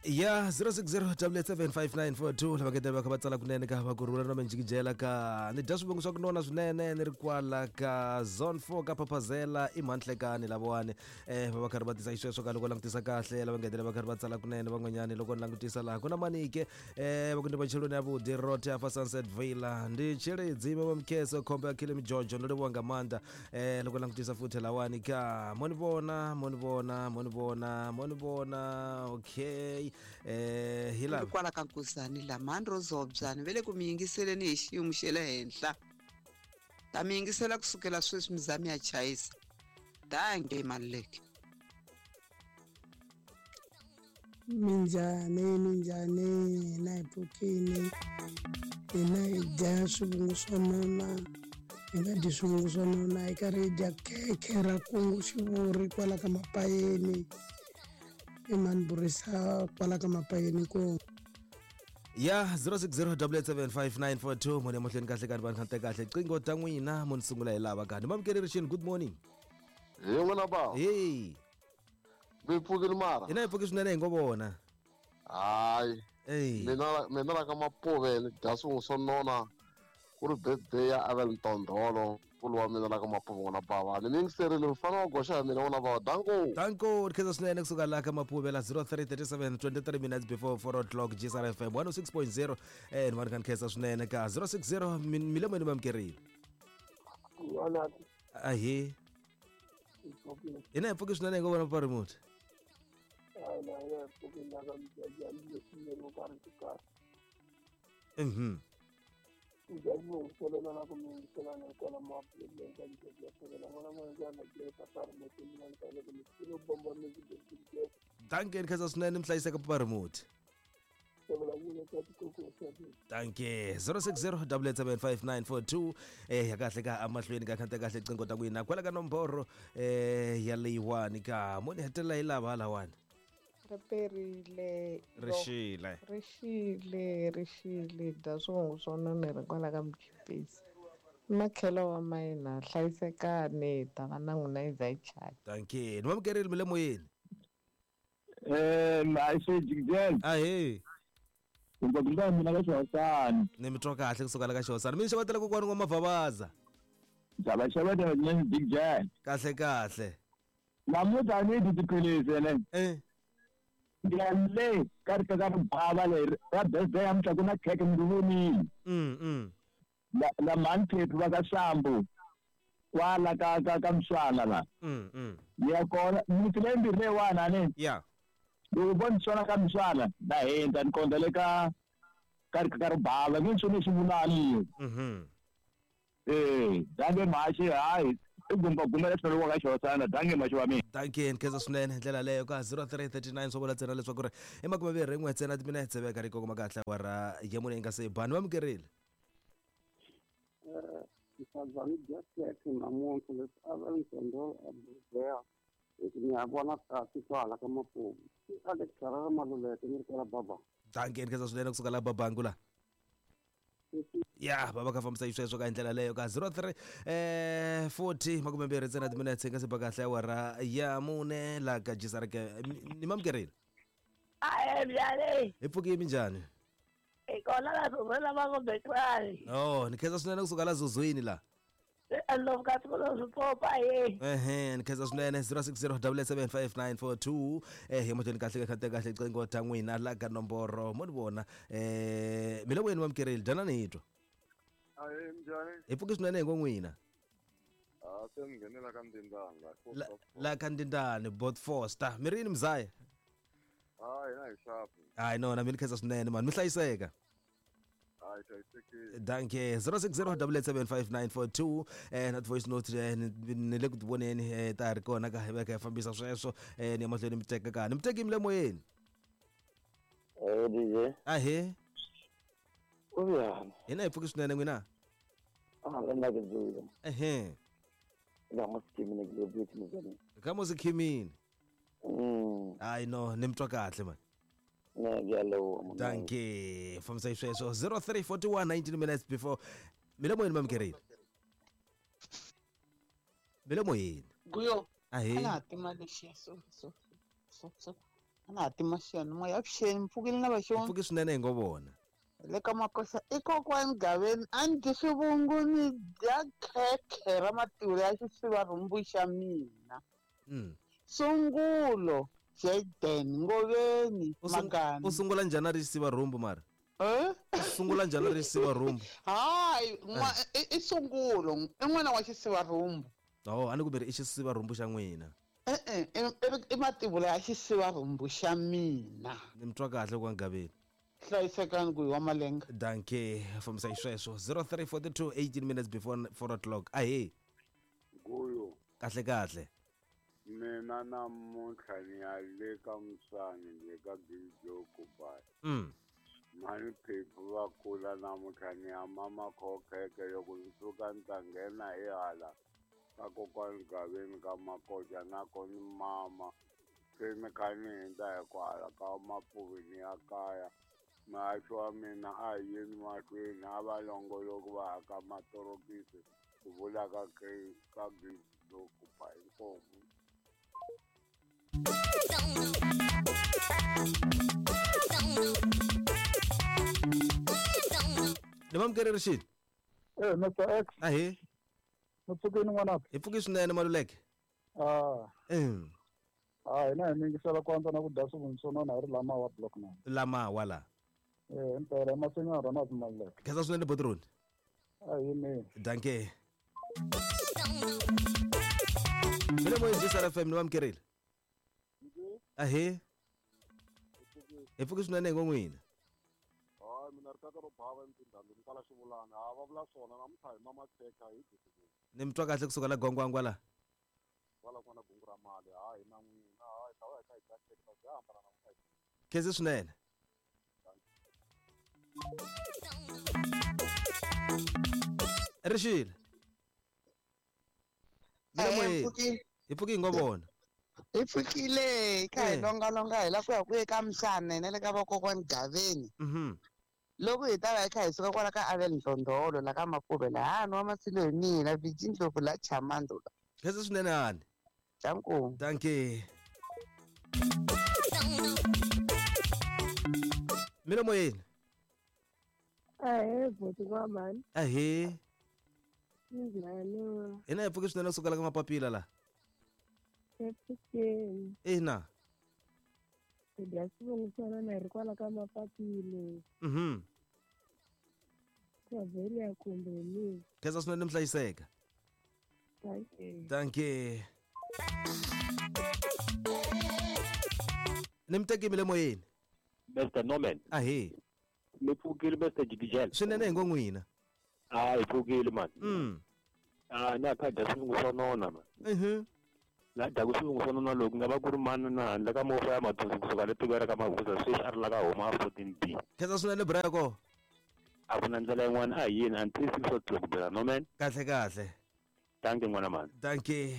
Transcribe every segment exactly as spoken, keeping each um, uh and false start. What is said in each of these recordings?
Ya zero six zero double seven five nine four two lava ngetela va kha va tsala kunene ka va ku rhula na minjikijela ka ni dya swivongo swa ku nona swinene ni ri kwala ka zone four ka Phaphazela i Mhanhlekani lavawani eh va va karhi va tisa xisweswo ka loko langutisa kahle lava ngetela va karhi va tsala kunene van'wanyani loko ni langutisa laha ku na manike eh va ku ndi macheloni ya vudi rote afa Sunset Villa ndi Tshilidzi va Mkheso khombe ya Khile Mijojo ndo livhuwa nga maanḓa eh loko langutisa futhi lawani ka mo ni vona mo ni vona mo ni vona mo ni vona okay eh hi lava kwala ka Nkuzani la mhani ro zobyani ve le ku mi yingiseleni hi xiyimo xa le henhla ta mi yingisela kusukela sweswi mi za mi ya chayisa dange Maluleke. Minjhani minjhani hina hi pfukini hina hi dya swivungu swo nona hi nga dyi swivungu swo nona hi karhi hi dya khekhe ra kungu xivuri kwala ka Mapayeni i mani burisa kwala ka Mapayeni ku ya zero six zero double seven five nine four two mone mahlweni kahle ka vanhu khante kahle qingo ta n'wina mo ni sungula hi lava kani mamukeri rixini good morning hi n'wina ba hey mi pfukile mara hina hi pfuki swinene hi ngo vona hayi mina mina la ka Mapuve ni dya swin'we swo nona ku ri birthday ya Abel Ntondolo nkulu wa mina la ka Mapuve n'wana bava ni mi yingiserile mfana wa goxa ya mina n'wana bava danko danko ri khensa swinene kusuka la ka Mapuve la zero three thirty seven twenty three minutes before four o'clock G S R F M one oh six point zero eh ni vona ka ni khensa swinene ka zero six zero milemweni mamukerile ahe hina hi pfuki swinene hi ngo vona papa remote mhm danke ni khensa swinene mi hlayiseka papa remote. Danke zero six zero double seven five nine four two eh ya kahle ka amahlweni ka khante kahle qingo ta n'wina kwala ka nomboro eh ya leyiwani ka mo ni hetelela hi lava halawani ri perile rixile rixile rixile dya swivongo swo nona ri kwala ka Mkhipisi makhelo wa mayina hlayisekani ta va na n'wina yi za yi chaya. Danke ni mamukerile mi le moyeni eh maxe ahe kumbe kumbe mina ka Xihosani ni mi twa kahle kusuka la ka Xihosani mi ni xavetela kokwani n'wa Mavhavaza xava xavetela swinene Big J kahle kahle namuntlha a ni dyi tiphilisi ene eh ya le ka ri ka ribava leri ra birthday ya mutla ku na khekhe mi ri vonile mm mm la la mhani Phephi va ka Sambu kwala ka ka ka Mswana la mm mm ya kona miti leyi mbirhi leyiwani a ni ya loko vo ni swona ka Mswana na hundza ni kondza le ka ka ri ka ribava nge ni swi vulani mhm eh dange mhaxi hayi i gumba gumela swinene wa ka Xihosana dange mhaxi wa mina. Danke ni khensa swinene hi ndlela leyo ka zero three thirty nine swo vula ntsena leswaku ri i makume mbirhi n'we ntsena timinetse veka ri kongoma kahle awara ya mune yi nga se bani vamukerile ni dya khekhe namuntlha leswi Abel Ntondolo a birthday hi ni ya vona kasi kwala ka Mapuve i Alex Harare Maluleke ni ri kwala Baba. Danke ni khensa swinene kusuka la Babangu la ya va va kha fambisa xisweswo ka hi ndlela leyo ka zero three eh forty makume mbirhi ntsena timinetse yi nga se ba kahle awara ya mune la ka G S R K ni mamukerile ahe mjani hi pfuki minjhani hi kona la zuzweni va ngo bekwani oh ni khensa swinene kusuka la zuzwini la andlovu ka siku lo swipopa ye ehe ni khensa swinene zero six zero double seven five nine four two eh hi mahlweni kahle ka kahle qingo ta n'wina la ka nomboro mo ni vona eh mi le moyeni mamukerile dyanani hi twa ahe mjani hi pfuki swinene hi ngo n'wina a se mi nghenela ka Ndindani la la ka Ndindani Bot Foster mi ri yini mzaya hayi hina hi xapu hayi nona mi ni khensa swinene mani mi hlayiseka hayi hlayisekile danke zero six zero double seven five nine four two eh na voice note eh, ni ni le ku ti voneni eh, ta ha ri kona ka hi veka hi fambisa sweswo eh ni ya mahlweni mi teka ka ni mi teki mi le moyeni eh D J ahe ku njhani hina hi pfuki swinene n'wina a le nna ke dzula ehe la mo sikimini ke le buti mzani ka mo sikhimini mm hayi no ni mi twa kahle mani ne ke a leboha monna. Danke fambisa xisweswo zero three forty one nineteen minutes before mi le moyeni mamukerile mi le moyeni Guyo ahe a na ha tima lexiya so so so so Na ha tima xiyanimoya avuxeni mpfukile na vaxoni. Pfuki swinene hi ngo vona. Le ka makosa i kokwani Gaveni a ni dyi swivungu ni dya khekhe ra mativula ya xisiva rhumbu xa mina. Mm. Sungulo Jaden Ngoveni Magani. U sungula njhani a ri xisiva rhumbu mara? Eh? U sungula njhani a ri xisiva rhumbu? Hayi, i sungulo, i n'wana wa xisiva rhumbu. Oh, a ni ku mi ri i xisiva rhumbu xa n'wina. E-e, i mativula ya xisiva rhumbu xa mina. Ni mi twa kahle kwa Gaveni. Hlayisekani ku hi wa malenga. Danke, fambisa xisweswo zero three forty two eighteen minutes before four o'clock. Ahee. Guyo. Kahle kahle. Mina namuntlha ni ya le ka Musani le ka Gijoko bai. Mm. Mani phephu va kula namuntlha ni ya mama khokheke loko ni suka ni ta nghena hi hala ka kokwani Gaveni ka Makoja na kona mama se ni kha ni hundza hi kwala ka Mapuvi ni ya kaya. Muhaxi wa mina a hi yeni mahlweni a va longoloki va haka matorokisi ku vula ka ka Gijoko bai inkomu. Ni mamukeri Rixile. Eh, Mister X. Ahee. Mi pfukini n'wanaka? Hi pfuki swinene Maluleke. Ah. Mm. Ah, hina hi mingisela ku antswa na ku dya swivungu swo nona hi ri lamawa block nine. Lamawa la. Eh, impela masinya Ronald Maluleke. Khensa swinene Botroni. Ahee mina. Danke. Mina moyeni G S R F M ni mamukerile. Ahee. Hi pfuki swinene hi ngo n'wina. Hayi mina ri tata ro bava emtindhandwini kwala xivulana ha va vula swona namuntlha hi mama khekha hi dyi swivungu. Ni mi twa kahle kusuka la Gwangwangwa la. Kwala kona gungu ra mali hayi na n'wina hayi ta va hi kha hi dya khekha bya hambana namuntlha. Khensa swinene. Rixile. Mina moyeni. Hi pfuki hi ngo vona. Hi pfukile kha hi longalonga hi la ku ya ku ye ka Msane na le ka vakokwani Gaveni. Mhm. Loko hi ta va hi kha hi suka kwala ka Avel Ndlondolo la ka Mapuve la nwa masilo hi mina Viji Ndlovu la Chamando la. Khensa swinene hani. Danko. Danke. Mina moyeni. Ahee, bhuti wa mhani. Ahee. Njhani? Hina hi pfuki swinene kusuka la ka Mapapila la. Epfukeni. Ina. Hi dya swivungu swo nona hi ri kwala ka Mapapila. Mhm. Tavheli kumbe mina. Khensa swinene mi hlayiseka. Danke. Danke. Ni mi tekile moyeni. Mister Norman. Ahee. Mi pfukile Mister Jigijela. Swinene hi ngo n'wina. Ah, hi pfukile man. Mm. Ah, na kha dya swivungu swo nona man. Mhm. La dya swivungu swo nona loko nga va ku ri mani na handle ka movha ya mathonsi kusuka le tikweni ra ka Mahuza sweswi a ri la ka homa fourteen B. Khensa swinene Brako. A ku na ndlela yin'wana a hi yini until six o'clock bela Norman. Kahle kahle. Danke n'wana mani. Danke.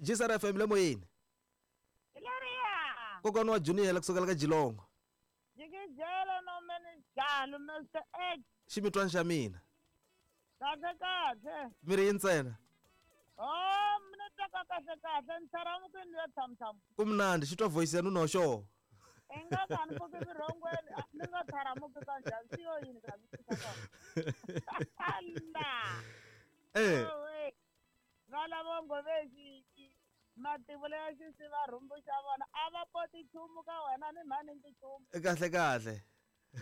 G S R F M le moyeni. Ilaria. Kokwana wa Junior la kusuka la ka Jilongo. Jigijela Norman njalo Mister X. Ximitwana xa mina. Kahle kahle. Mi ri ntsena. Oh, mina twa kahle kahle ni tsharamuke ya tham tham. Ku mnandi xi twa voice ya nuna xo. I nga ka ni pfuki vurhongweni ni nga tsharamuki ka njhani swi yo yini ka Allah. Eh. Va lava ngovexiki mativula ya xisiva rhumbu xa vona a va poti nchumu ka wena ni mhani ni nchumu. Kahle kahle.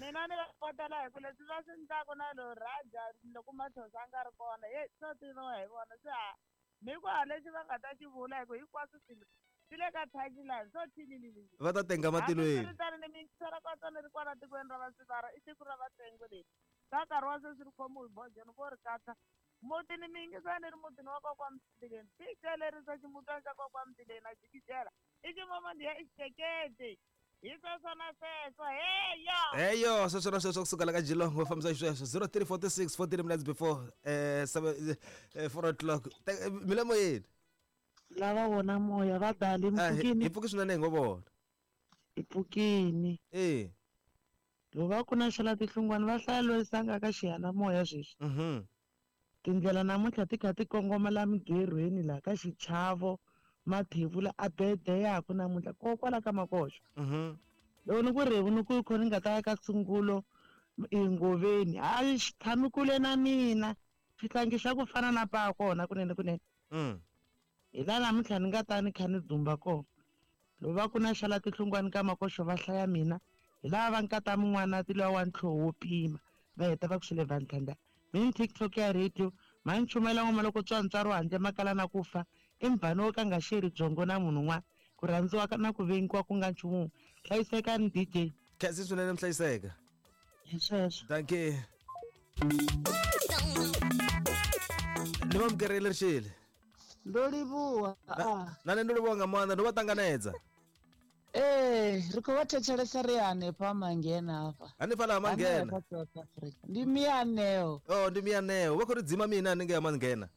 Mina ni va potela hi ku leswi va swi endlaku na lo Raja loko Mathosa a nga ri kona ye swo tiviwa hi vona se ha mi ku ha lexi va nga ta xi vula hi ku hinkwaswo swilo swi le ka timeline swo thililili. Va ta tenga matilweni. Hambiswiritano ni mingisela ka tsona ri kwala tikweni ra Vasivara i siku ra Vatengo leri ka nkarhi wa sweswi ri khomiwe hi bojeni vo ri katsa muti ni miyingisani ri mutini wa kokwa Mtileni ticelerisa ximutwana xa kokwa Mtileni na jikijela i ximomondhiya i xiceketi hi sweswo na sweswo heyo heyo sweswo na sweswo kusuka la ka Jilongo fambisa xisweswo zero three forty six forty minutes before eh seven four o'clock mi le moyeni. Lava vona moya va dali mpfukini. Hi pfuki swinene hi ngo vona. Hi pfukini. Eh. Loko va ku na xela tihlungwana va hlaya loyi ka xiyanimoya sweswi. Mhm. Tindlela namuntlha ti kha ti kongoma la migerhweni la ka xichavo Mathevula a bedeyaku namuntlha kokwala ka Makoxo. Mhm. Loko ni ku revu ni ku kho ni nga ta ya ka sungulo engoveni a xi tshami kule na mina xihlangi xa ku fana na pa kona kunene kunene. Mm. Hi laha namuntlha ni nga ta ni kha ni dzumba kona. Loko va ku na xala tihlungwani ka Makoxo va hlaya mina hi laha va nkata mun'wana ti luwa wa ntlhoho wo pima va heta va ku xile vantlhanda mini TikTok ya radio ma ni chumela ngoma loko tswantswaro handle makala na ku fa i mbhani wo ka nga xeri byongo na munhu un'wana ku rhandziwa na ku vengiwa ku nga nchumu hlayisekani D J. Khensi swinene mhlayiseka. Hi sweswo. Dankie. Ni va mukerile rixile. Ndo livhuwa. Na nṋe ndo livhuwa nga maanḓa ndo vha ṱanganedza. Ee, ri khou vha thetshelesa ri hanefha Mangena hafha. Hanefha la Mangena. Ndi mianeo. Oh, ndi mianeo. Vha khou ri dzima mina hanengei ha Mangena.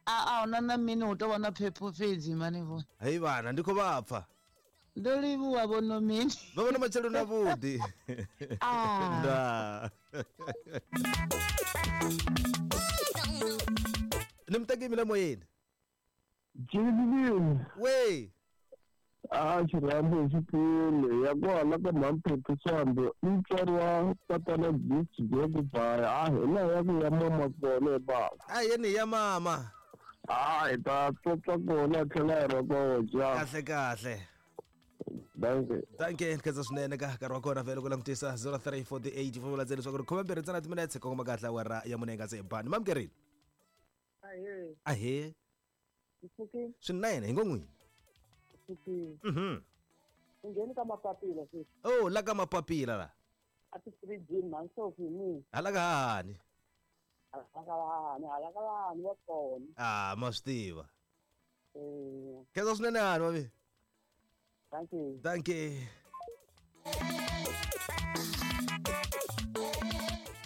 A a huna na mini hu tou vha na phepho fhedzi mani vho. Hei vhana ndi khou vha pfa. Ndo livhuwa vho no mini. Vha vhona matsheloni avhuḓi. Ah. Ndaa. Ni muteki mile moyeni. Jimmy. We. A xirhambo xikulu ya kwala ka Mhamphephu Swambo i mutswari wa tatana Gift Jekubaya a hi laha ya ku ya mama kona baba. A yeni ya mama. A hi ta tsotsa kona tlhela hi rokoja. Kahle kahle. Dankie. Dankie khensa swinene ka nkarhi wa kona vhele ku langutisa zero three four eight four vula leswaku ri khome mbirhi ntsena timinetse kongoma kahle awara ya mune nga se bani mamukerile. Ahee. Ahee. Swinene hi ngo n'wini. Mhm. Ngheni ka mapapila sweswi. Oh, la ka mapapila la. A ti fridge man so mi. Hala ka hani. Hala ka hani, hala ka hani wa kona. Ah, ma swi tiva. Eh. Khensa swinene hani mami. Thank you. Thank you.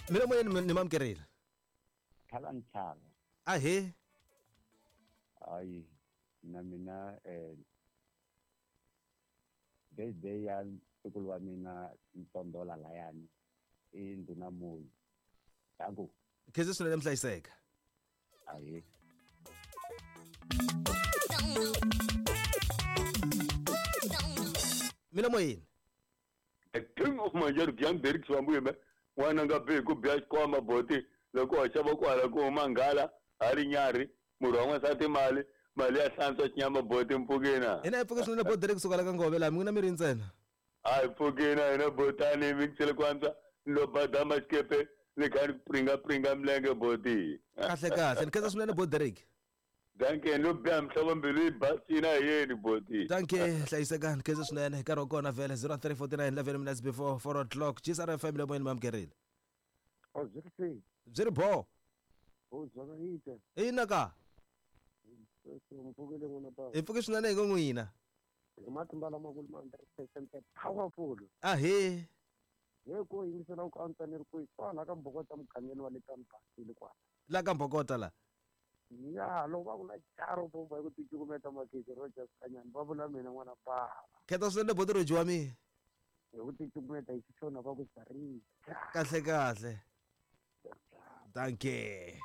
Mina moyeni ni mamukerile. Khala nchava. Ahee. Ayi na mina eh birthday ya ntukulu wa mina Ntondola layani i ndhuna Moyi. Danko. Khensa swinene mhlayiseka. Ahee. Mina moyeni. The king of Manjaro Byang Derek Swambu me n'wana nga bi ku biya xikwama boti loko wa xava kwala ku huma nghala a ri nyarhi murhi wa n'wansati mali mali ya hlantswa xinyama boti mpfukina. Hina hi pfuke swinene boti Derek kusuka la ka Ngove laha min'wina mi ri ntsena. A hi pfukina hina botani mi xele ku antswa ni lo badama xikepe ni kha ni pringa pringa milenge boti. Kahle kahle ni khensa swinene boti Derek. Dankie no biya mhlobo mbilu yi basina yeni boti. Dankie hlayisekani khensa swinene nkarhi wa kona vhele zero three forty nine eleven minutes before four o'clock G S R F M le moyeni mamukerile. Oh, byi ri sei. Byi ri bo. Oh, zvakaita. Ina ka. Mpfukile n'wina baba. Hi pfuke swinene hi ngo n'wina. Hi matimba lamakulu ma hundred percent powerful. Ahee. Hi ku yingisela ku antswa ni ri kwihi kwala ka Mbokota mugangeni wa le Tambasile kwala. La ka Mbokota la. Ya, loko va ku na charo bomba hi ku ticukumeta makete ro dya swikanyani va vula mina n'wana baba. Khensa swinene boti ro dyiwa mi. Hi ku ticukumeta hi xixona va ku zarisa. Kahle kahle. Dankie.